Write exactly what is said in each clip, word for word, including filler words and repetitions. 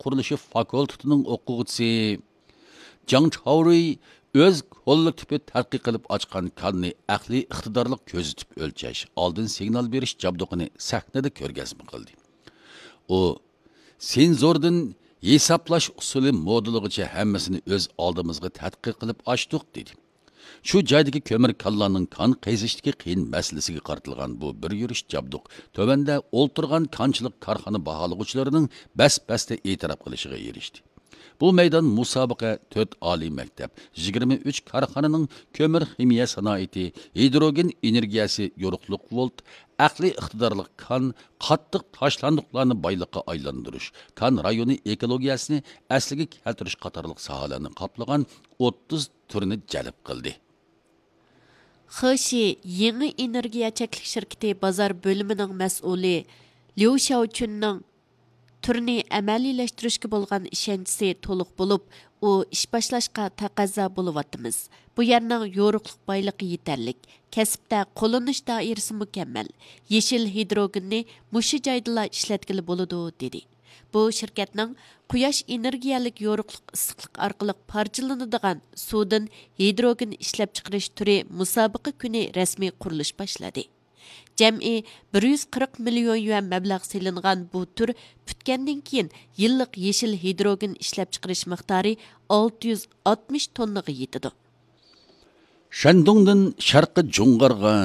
قۇرۇلۇشى فاكۇلتېتىنىڭ ئوقۇغۇچىسى جاڭ چاۋرۇي ئۆز كوللېكتىپى تەتقىق قىلىپ ئاچقان كاننى ئەقلىي ئىقتىدارلىق كۆزىتىپ ئۆلچەش، ئالدىن سىگنال بېرىش جابدۇقىنى سەھنىدە كۆرگەزمە قىلدى. ئۇ سېنزوردىن ھېسابلاش ئۇسۇلى مودېلىغىچە ھەممىسىنى ئۆز ئالدىمىزغا تەتقىق قىلىپ ئاچتۇق، دېدى. شۇ جايدىكى كۆمۈر كانلارنىڭ كان قېزىشتىكى قىيىن مەسىلىسىگە قارىتىلغان بۇ بىر يۈرۈش جابدۇق تۆۋەندە ئولتۇرغان كانچىلىق كارخانا باھالىغۇچىلىرىنىڭ بەس-بەستە ئېتىراپ قىلىشىغا ئېرىشتى. بۇ مەيدان مۇسابىقە تۆت ئالىي مەكتەپ، يىگىرمە ئۈچ كارخانىنىڭ كۆمۈر خىمىيە سانائىتى، ھىدروگېن ئېنېرگىيەسى، يورۇقلۇق ۋولت، ئەقلىي ئىقتىدارلىق كان، قاتتىق تاشلاندۇقلارنى بايلىققا ئايلاندۇرۇش، كان رايونى ئېكولوگىيەسىنى ئەسلىگە كەلتۈرۈش قاتارلىق ساھەلەرنى قاپلىغان ئوتتۇز تۈرنى جەلپ قىلدى. خېشى يېڭى ئېنېرگىيە چەكلىك شىركىتى بازار بۆلۈمىنىڭ مەسئۇلى ليۇ شياۋچۈننىڭ تۈرنى ئەمەلىيلەشتۈرۈشكە بولغان ئىشەنچىسى تولۇق بولۇپ، ئۇ ئىش باشلاشقا تەقەززا بولۇۋاتىمىز. بۇ يەرنىڭ يورۇقلۇق بايلىقى يېتەرلىك، كەسىپتە قوللىنىش دائىرىسى مۇكەممەل، يېشىل ھىدروگېننى مۇشۇ جايدىلا ئىشلەتكىلى بولىدۇ، دېدى. بۇ شىركەتنىڭ قۇياش ئېنېرگىيەلىك يورۇقلۇق ئىسسىقلىق ئارقىلىق پارچىلىنىدىغان سۇدىن ھىدروگېن ئىشلەپچىقىرىش تۈرى مۇسابىقە كۈنى رەسمىي قۇرۇلۇش باشلىدى. جەمئىي بىر يۈز قىرىق مىليون يۈەن مەبلەغ سېلىنغان بۇ تۈر پۈتكەندىن كېيىن، يىللىق يېشىل ھىدروگېن ئىشلەپچىقىرىش مىقدارى ئالتە يۈز ئاتمىش توننىغا يېتىدۇ. شەندۇڭدىن شەرقىي جۇڭغارغا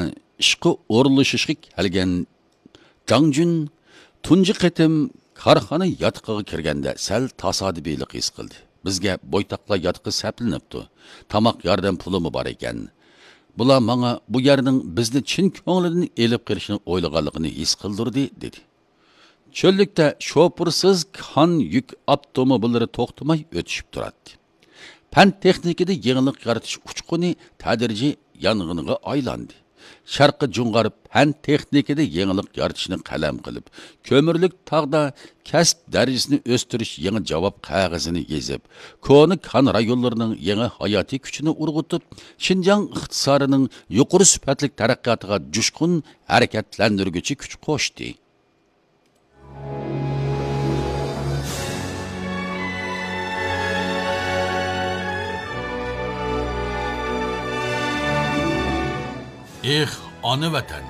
ئىشقا ئورۇنلىشىشقا كەلگەن جاڭجۈن تۇنجى قېتىم كارخانا ياتىقىغا كىرگەندە سەل تاسادىپىيلىق ھېس قىلدى. بىزگە بويتاقلار ياتىقى سەپلىنىپتۇ. تاماق ياردەم پۇلىمۇ بار ئىكەن. بۇلار ماڭا بۇ يەرنىڭ بىزنى چىن كۆڭلىدىن ئېلىپ قېلىشنى ئويلىغانلىقىنى ھېس قىلدۇردى، دېدى. چۆللۈكتە شوپۇرسىز كان يۈك ئاپتوموبىللىرى توختىماي ئۆتۈشۈپ تۇراتتى. پەن تېخنىكىدا يېڭىلىق يارىتىش ئۇچقۇنى تەدرىجىي يانغىنغا ئايلاندى. شەرقىي جۇڭغار پەن تېخنىكىدا يېڭىلىق يارىتىشنى قەلەم قىلىپ، كۆمۈرلۈك تاغدا كەسىپ دەرىجىسىنى ئۆستۈرۈش يېڭى جاۋاب قەغىزىنى يېزىپ، كونا كان رايونلىرىنىڭ يېڭى ھاياتىي كۈچىنى ئۇرغۇتۇپ، شىنجاڭ ئىقتىسادىنىڭ يۇقىرى سۈپەتلىك تەرەققىياتىغا جۇشقۇن ھەرىكەتلەندۈرگۈچى كۈچ قوشتى. ئېھ، ئانا ۋەتەن!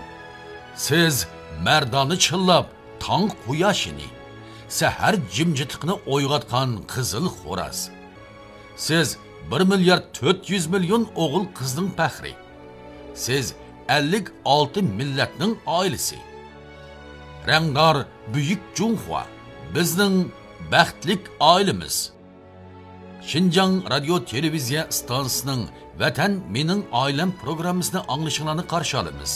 سىز مەردانە چىللاپ تاڭ قۇياشىنى، سەھەر جىمجىتلىقىنى ئويغاتقان قىزىل خوراز. سىز بىر مىليارد تۆت يۈز مىليون ئوغۇل قىزنىڭ پەخرى. سىز ئەللىك ئالتە مىللەتنىڭ ئائىلىسى. رەڭدار بۈيۈك جۇڭخۇا، بىزنىڭ بەختلىك ئائىلىمىز. شىنجاڭ رادىيو تېلېۋىزىيە ئىستانسىسىنىڭ ۋەتەن مېنىڭ ئائىلەم پروگراممىسىنى ئاڭلىشىڭلارنى قارشى ئالىمىز.